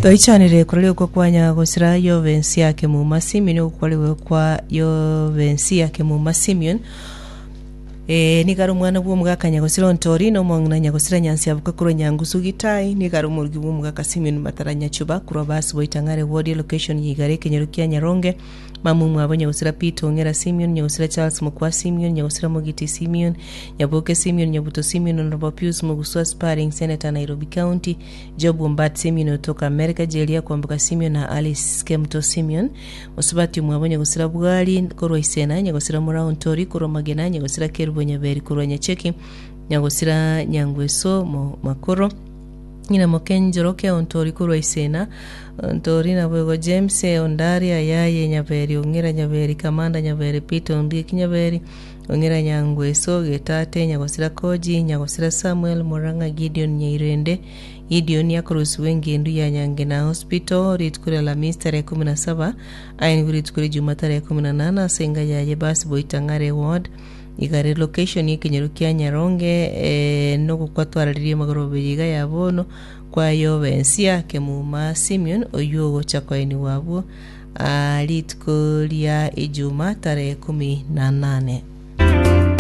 Toichanire koraria okwo kwa nyagosira Yobensia Kemuma Simeon ogokwarigwe kwa Yobensia Kemuma Simeon Ee, nigo are omwana bw'omogaka nyagosira Ontori, na omong'ina nyagosira Nyansiaboka korwa Nyangusu Gitai, nigo are omorugi bw'omogaka Simeon Matara Nyachuba korwa Basi Boitang'are Ward Location ya Igare ekenyoro kia Nyaronge, Mama omwabo nyagosira Peter Ong'era Simeon, nyagosira Charles Mokwa Simeon, nyagosira Mogiti Simeon, Nyaboke Simeon, Nyabuto Simeon, Honourable Pius Mogusua Sparring Senator Nairobi County, Job Ombat Simeon otoka America, Jeria Kwamboka Simeon na Alice Kemuto Simeon. Mosubati omwabo nyagosira Bwari korwa Isena, nyagosira Murao Ntori korwa Magena, nyagosira Kerubo Nyaberi korwa Nyacheki, nyagosira Nyangweso Makoro, ng'ina moke Njoroke Ontori korwa Isena, Ontori naboigo James Ondari Ayaye Nyaberi Ong'era Nyaberi Kamanda Nyaberi Peter Ondieki Nyaberi Ong'era Nyangweso Getate Nyagosira Koji Nyagosira Samuel Murang'a Gideon Nyairende Gideoni akorusigwa engendu ya Nyangena Hospital rituko ria Alamisi tarehe 17, aenigwe rituko ria Juma tarehe 18 ase enga yaye Basi Boitang'are Ward, Igare location y'ekenyoro kia Nyaronge eh, nogokwa twararirie magoroba eye iga ya bono kwa Yobensia Kemuma Simeon oyio ogocha koenigwa abwo ah, rituko ria Ijuma tarehe 18.